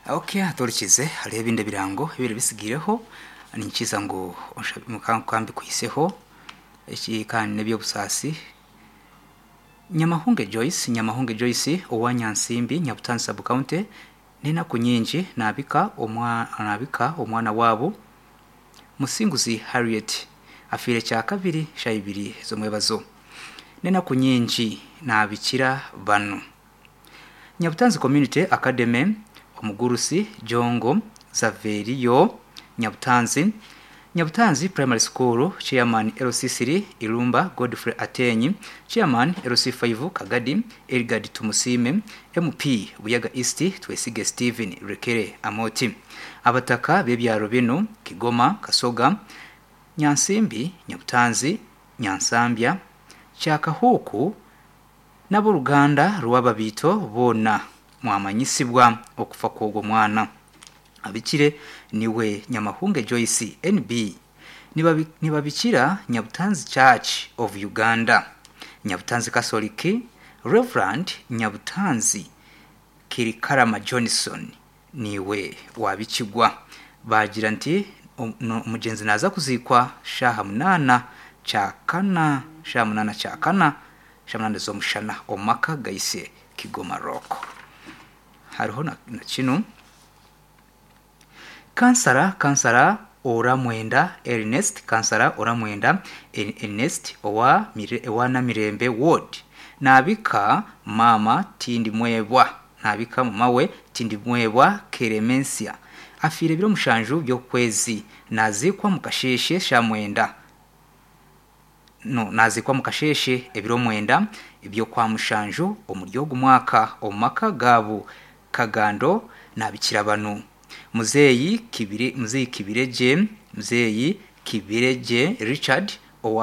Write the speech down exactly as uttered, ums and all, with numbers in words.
Okay, aturikize hariho ebindi ebirango ebiri bisigireho ninkiza ngu kambikwiseho eki kandi n'ebyobusaasi. Nyamahunge Joyce, Nyamahunge Joyce owa Nyansimbi, Nyabutanzi sub county, n'enaku nyingi naabika omwa naabika omwana waabo Musinguzi Harriet afiire kyakabiri shaaha ibiri z'omwebazo. N'enaku nyingi naabikira banu: Nyabutanzi Community Academy, Omugurusi Jongo Zaveriyo Nyabutanzi, Nyabutanzi Primary School, Chairman L C three Irumba Godfrey Atenyi, Chairman L C five Kagadi Elgard Tumusime, M P Buyaga East Twesige Stephen Rekere Amoti. Abataka b'ebyaro binu: Kigoma, Kasoga, Nyansimbi, Nyabutanzi, Nyansambya, Kyakahuuku n'aboruganda rw'ababiito boona mwamanyisibwa okufa kw'ogwo mwana. Abikire niwe Nyamahunge Joyce N B. Nibabi- nibabikira Nyabutanzi Church of Uganda, Nyabutanzi Catholic, Reverend Nyabutanzi Kirikarama Johnson niwe wabikigwa. Bagira nti om- no- omugyenzi naza kuziikwa shaaha munaana kyakana, shaaha munaana kyakana, shaaha munaana z'omushana omu maka gaise Kigoma Rock. Hariho na, na kinu kansara kansara Oramwenda Ernest, kansara Oramwenda Ernest owa Mire- owa Namirembe Ward naabika maama Tindimwebwa, naabika mama we Tindimwebwa Keremensia afiire ebiro mushanju by'okwezi, naziikwa mu kasheeshe sha mwenda, no naziikwa mu kasheeshe ebiro mwenda eby'okwa mushanju omuri ogu mwaka omu maka gaabo Kagando. Naabikira banu: Muzeeyi Kibire, Muzeeyi Kibiregye, Muzeeyi Kibiregye Richard owa